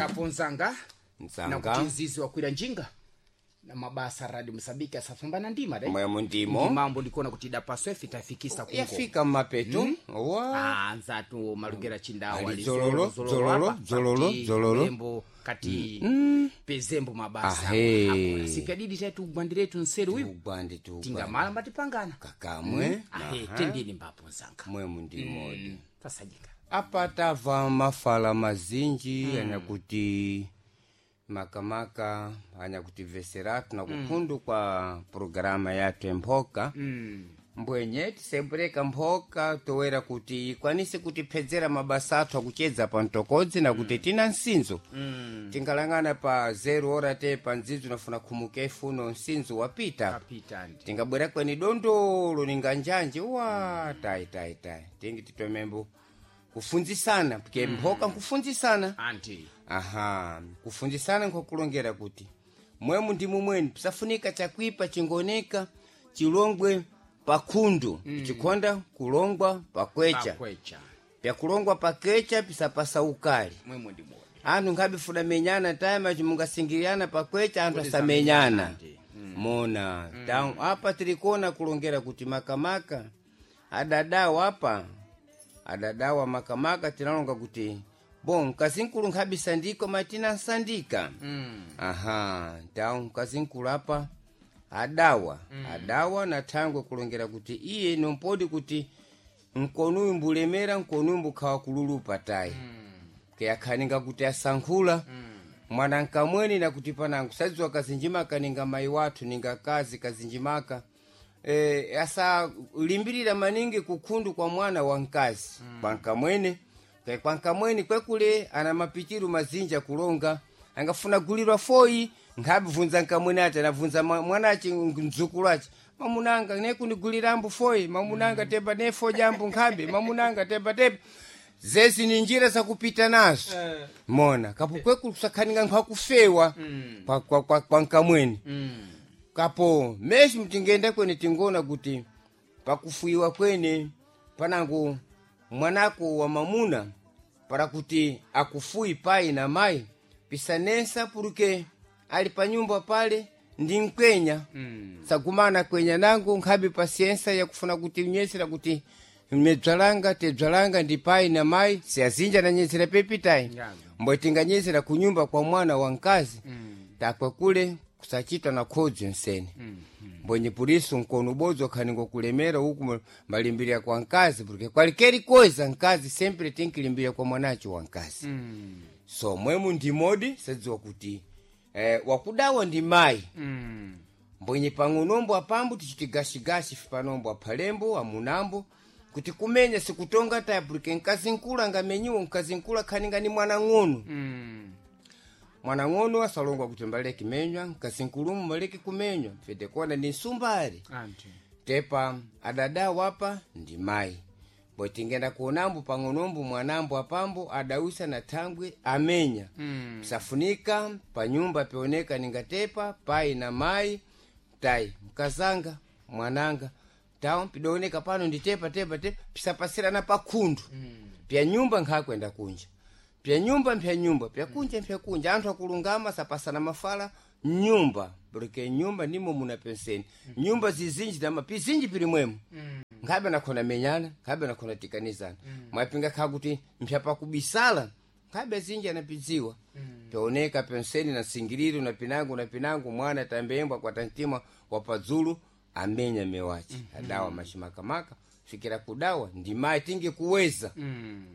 Kaponzanga Nzanga. na kuti mzizi wakwira njinga na mabasa radio msabiki asafambana ndima dai Mwemo ndimo. ndimambo ndikuona kuti idapaswa ife tafikisa kungo Yafika mmapeto. Wa. Anzatu malugera chindawa Ali ali dzololo, dzololo, apa, dzololo, kati dzololo. lembo kati pezembo mabasa Ahe. Akona. Siku yadidi taitu ugwandiretu nseru uyu Ugwandi tu. tingamala mbatipangana Kakamwe. Ahe, tendini mbapo nzanga. Mwemo ndimodi. Tasajika. Apa tava mafala mazinji anyakuti makamaka anyakuti-veseratu na kukhundu kwa programa yathu emphoka mbwenye tisembwereka mphoka toera kuti ikwanise kutiphedzera mabasa athu akuchedza pa mtokodzi na kuti tina nsinzo tingalangana pa 0 ora te pa ndzidzo nafuna khumuka ifuno nsinzo wapita. Kapita ndi. Tingabwera kweni dondolo ninga njanje wa tayi tayi tayi tingi titomembo kufunzisana pke mphoka nkufunzisana. Anti. Aha, kufunzisana nkokulongera kuti mwemu ndi mumweni pisafunika chakwipa chingoneka chilongwe pakhundu chikhonda kulongwa pakwecha. Pakwecha. Pyakulongwa pakecha pisapasa ukali. Mwemwe ndi modi. Anthu nkhabifuna menyana tayima chimungasingiriyana pakwecha anthu asamenyana mona mm. Apa tilikuona kulongera kuti makamaka adadawa apa adadawa makamaka tinalonga kuti bon mkazinkulu nkhabisandika matina nsandika aha tawu mkazinkulu apa adawa adawa na thangwe kulongera kuti iye nompodi kuti nkonuyu mbulemera nkonuyu mbukhawa kululupa tayi keyakhaninga kuti asankhula mwana nkamweni nakuti panango sadziwa kazinjimaka ninga mayi wathu ninga kazi kazinjimaka e, asalimbirira maningi kukhundu kwa mwana wa mkazi kwa nkamwene ke kwa nkamweni kwekule ana mapitiru mazinja kulonga angafuna gulirwa foyi nkhabvunza nkamwene ati anabvunza mwanachi mdzukulu achi mamunanga nekunigulirambo foyi mamunanga tepa nefo jambo nkhabe mamunanga tepa tepa zezi ni njira zakupita nazo mona kapo kweku kusakhaninga nkhwakufewa kwa nkamweni kapo meshi mtingenda kwene tingona kuti pakufuiwa kwene panango mwanako wa mamuna para kuti akufui pai na mai pisanesa puruke ali panyumba pale ndi mkwenya sagumana kwenya nango nkhabe pasiensa yakufuna kuti unyesera kuti medzwalanga tedzwalanga ndi pai na mai siazinja nanyesera pepitayi. Ngano. Mbwe tinganyesera kunyumba kwa mwana wa mkazi takwe kule kusachita na khodzi nsene mbwenye puliso nkono ubodzi wakhaninga kulemera uku malimbirira kwa mkazi porque kwalikeri koza mkazi sempre tinkilimbirira kwa mwanacho wa mkazi so mwemu ndimodi sadziwa kuti wakudawa ndi mayi mbwenye pang'onombo apambo tichiti gashigashi panombo aphalembo amunambo kuti kumenya sikutonga taya porque mkazi nkulu angamenyiwa mkazi nkulu akhaninga ni mwana ng'ono mwana ng'ono asalongwa kuti mbaleke menywa mkazi nkulumu mbaleke kumenywa fete kuona ni nsumbali. Anti. Tepa adada wapa ndi mayi bo tingenda kuonambo pang'onombo mwanambo apambo adausa na thangwe amenya safunika panyumba pioneka ningatepa pai na mayi tayi mkazanga mwananga tawo pidoneka pano ndi tepa tepa tepa pisapasirana pakhundu pya nyumba nkhakwenda kunja pya nyumba mpya nyumba pya kunja mpya kunja anthu akulungama sapasana mafala nyumba porque nyumba ndimo muna penseni nyumba zizinji dama pizinji pili mwemo nkhabe nakhona menyana nkhabe nakhona tikanizana mwapinga kha kuti mpya pakubisala nkhabe zinji anapidziwa pyaoneka penseni na singiliro na pinango na pinango mwana tambembwa kwa tantima wapadzulu amenya mewachi adawa mashimakamaka fikira kudawa ndimayi tingi kuweza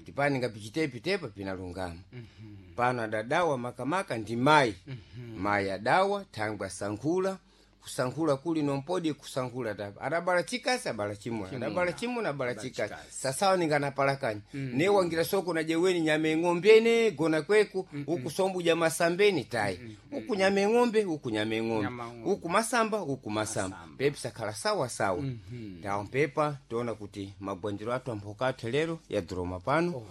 tipani ngapichitepitepa pinalungama pano adadawa makamaka ndi mayi mayi adawa thangwe asankhula kusankhula kuli nompodi kusankhula tapa adabala chikasi abala chimuna adabala chimuna abala chikasi sasawa ninganapalakanya mm. Newangira soko na jeweni nyame ng'ombene gona kweku uku sombuja masambeni tayi uku nyame ng'ombe uku nyame ng'ombe Nyama ng'ombe. uku masamba uku masamba pepi sakhala sawa sawa tawo mpepa tiona kuti magwanjiro athu amphoka athu lero yaduroma pano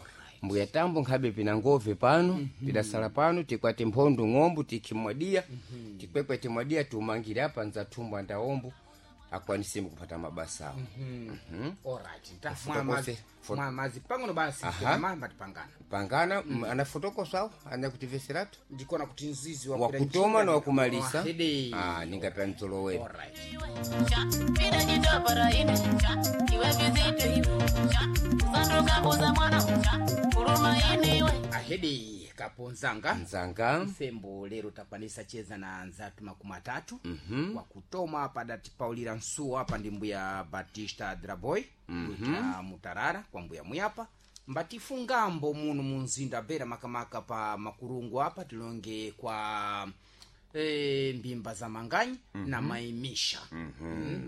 mbuya tambo nkhabe pina ngove pano pidasala pano tikwati mphondo ng'ombo tikhimwadiya tikwekwe timwadiya tiumangire apa nzathumba ndaombo. akwanise kupata mabasa awo. Alright, nta Fotokose, mwamazi pang'ono basi. Aha. Mamba tipangana. Pangana anafotokosawo anakutiveserato. Ndikuona kuti nzizi wakutoma na wakumalisa. Ahede. Ah, ningapya mtolowere. Alright. Ahede kaponzanga. Nzanga. Msembo lero takwanisa cheza na nzatu 30. Wakutoma apa datipaulira nsuwa apa ndi mbuya Batista Draboy kuita mutarara kwa mbuya muyapa mbatifungambo muno munzinda bera makamaka pa makurungu apa tilonge kwa mbimba za manganyi na maimisha.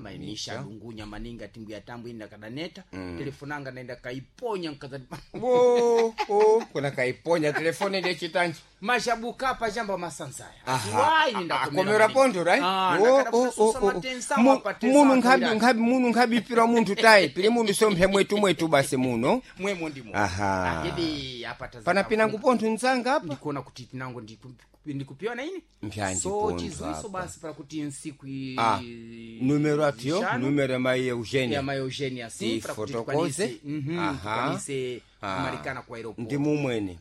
Maimisha dungunya maninga timbuya tambu inda kadaneta. Telefonanga naenda kaiponya nkazati wo o kuna kaiponya telefoni ndiye chitanji. Mashabuka pa jamba masanzaya. Akomera pondo right. Wo, o, o, o. Munu nkhabi nkhabi munu nkhabipira munthu tayi pili mundu somphe mwetu mwetu basi muno. Mwemo ndimo. Aha. Ahidi apa taza pana pinangu pontho nzanga apa. Ndikuona kuti tinango ndikupiona ini. Mpyanji so pontho chiziwiso apa. basi para kuti nsiku Ah, numero atiyo zishanu numero ya mai Eugenia ya mai Eugenia si para kuti Tifotokoze. tikwanise Aha. tikwanise Ah. kumalikana kwa aeroport. Ndi mumwene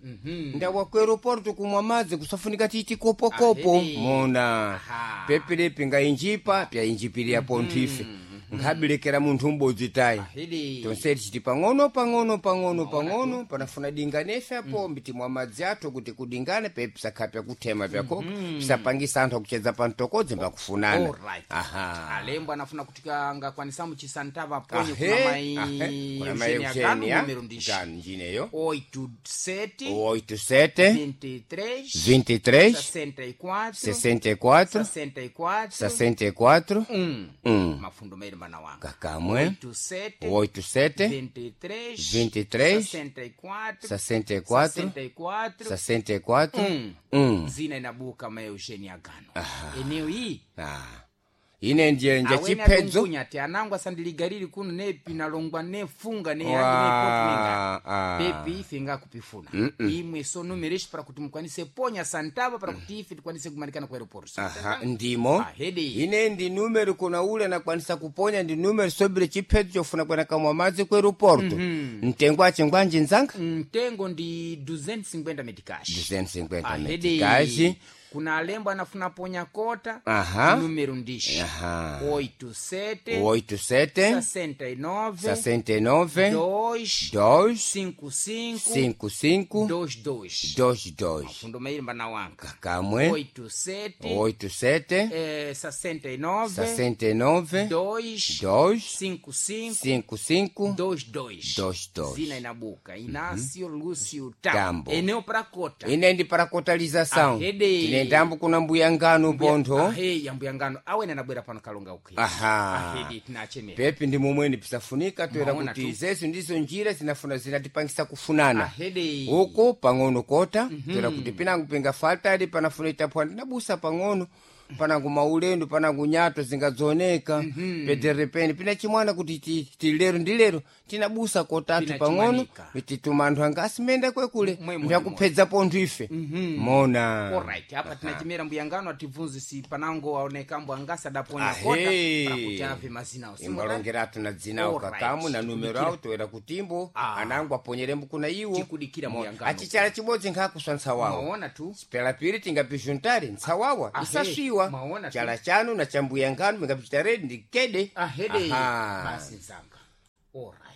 ndawa ku aeroporto kumwa madzi kusafunika titi kopokopo. Ahedi. Mona. Aha. Pepelepi ngainjipa pyainjipirira pontho ife nkhabilekera munthu m'bodzi tayi. Ahidi. Tonse tichiti pang'ono pang'ono pang'ono pang'ono panafuna dinganefe apo mbitimwa madzi athu kuti kudingane pepe pisakhala pyakuthema pyakoka pisapangisa anthu akucheza pamtokodzi mbakufunana. Alright. Aha. Alembo anafuna kuti kangakwanisa muchisantava ponye Ahe, kuna mai ahe, kuna mai Eugenia Gano, Eugenia numero ndishi Gano njineyo. 87 87 23 23 64 64 64 64 1. Mafundo mairi mana wanga. Kakamwe. 87 87 23 23 64 64 64 64 1. Zina inabuka ma Eugenia Gano eneo iyi. Ah. Ine ndiye nje Awene chiphedzo. adungunya ati anangu asandiligalili kuno nepi nalongwa nefunga ne Wa- ah. pepi ife ngakupifuna imwe so numero ishi para kuti mukwanise ponya santava para kuti ife tikwanise kumalikana ku aeroport. Aha, ndimo. Ahedi. Ine ndi numero kuna ule anakwanisa kuponya ndi numero sobile chiphedzo chofuna kwena kamwa madzi ku aeroporto. Mtengo ache ngwanji nzanga? Mtengo ndi 250 metikashi. 250 Ahedi. metikashi. Kuna alembo anafuna ponya kota. Aha. Numero ndishi Aha. 87 87 69 69 2 2 55 55 22. 22. Mafundo mairi mbana wanga. Kakamwe. 87 87 69 69 2 2 55 55 22. 22. Zina inabuka Inácio Lúcio Tambo Tambo. eneo para kota. Ine ndi para kotalização. Ahede. Tine ndambo kuna mbuya ngano pontho. Ahe yambuya ngano awene anabwera pano kalonga ukhi. Aha. Ahedi tinachemera. Pepi ndi momweni pisafunika toera Maona kuti tu. izezo ndizo njira zinafuna zinatipangisa kufunana. Ahede. Uko pang'ono kota toera kuti pinangu pinga faltali panafuna itaphwa ndinabusa pang'ono panangu maulendo panangu nyato zingadzoneka pederepeni pina chimwana kuti ti lero ndi lero tinabusa kotatu Pina pang'ono. chimanika. Tituma anthu anga asimenda kwekule Mwemo mbyakupedza pontho ife mona. Alright, apa tinachimera mbuya ngano atibvunzisi panango aonekambo angasi adaponya Ahe. kota para kuti ave mazina Imbalongeratu na dzinawo. Alright. Kakamu na numero awo toera kutimbo. Ah. Anangu aponyerembo kuna iwo. Tikudikira mbuya ngano. Achichala chibodzi nkhakuswa ntsawawa. Maona tu. Pela pili tingapijuntari ntsawawa Ahe, isaswiwa. maona tu. Chala chanu na chambuya ngano mingapichita redi ndi kede. Ahede. Aha. Basi nzanga. Alright.